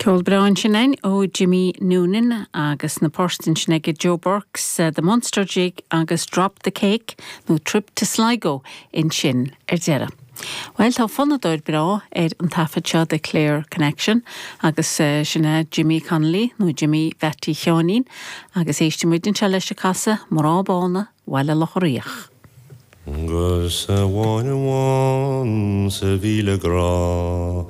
Ceol breá ansin againn ó Jimmy Noonan agus na poirt ansin aige Joe Burke's The Munster Jig agus Drop the Cake nó Trip to Sligo ansin ar deireadh. Bhuel, tá fonnadóir breá ar an taifead seo de Clare Connection agus sin é Jimmy Connolly nó Jimmy Mheaití Sheáinín agus éistfidh muid anseo leis ag casadh Mná Bána Bhaile Locha Riach. 'Gus amháin amháin sa mhíle grá.